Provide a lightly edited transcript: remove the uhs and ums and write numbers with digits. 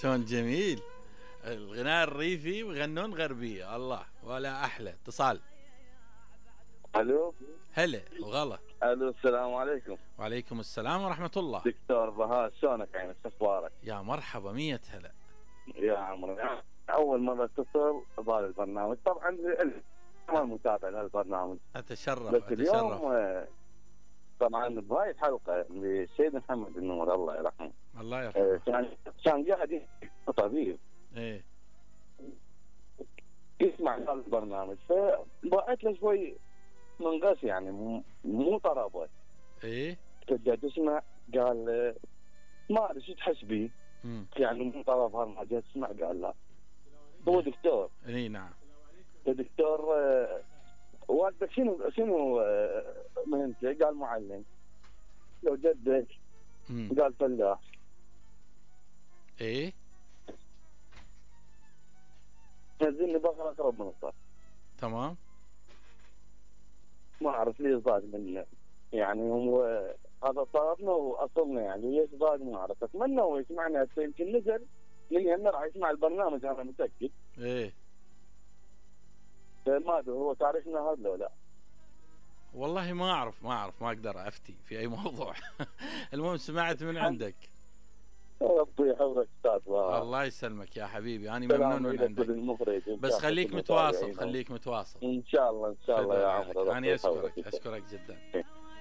شلون جميل الغناء الريفي ويغنون غربيه، الله ولا احلى. اتصال. الو. هلا وغلا. الو السلام عليكم. وعليكم السلام ورحمه الله. دكتور بهاء شلونك عينك اخبارك؟ يا مرحبا، 100 هلا. يا عمري اول مره اتصل بهذا البرنامج، طبعا ما متابع للبرنامج اتشرف بس اتشرف. اليوم طبعا بهاي الحلقه للسيد محمد النور الله يرحمه. الله يرحمه. كان قاعد يحكي طبيب ايه يسمع هذا البرنامج، فبعت له شوي من غش يعني مو طربه. ايه تبدا تسمع قال ما ادري شو تحس بيه يعني مو طرب ما جاي تسمع. قال لا هو دكتور. اي نعم. دكتور والدك شنو مهنته؟ قال معلم. لو جدك؟ قال فلاح. ايه نزلني بقرا اقرب من الصف. تمام. ما اعرف ليش ضاق منه يعني، هو هذا طرفنا واصلنا يعني ليش ضاق ما اعرف. اتمنى هو يسمعنا هسه، يمكن نزل من هنا راح يسمع البرنامج انا متاكد. ايه ما ادري هو تعرفنا هذا لو لا؟ والله ما اعرف ما اقدر افتي في اي موضوع. المهم سمعت من عندك. ربي يحفظك استاذ. الله يسلمك يا حبيبي، انا ممنون من عندك. بس خليك متواصل. ان شاء الله ان شاء الله يا عمرو. انا اشكرك جدا.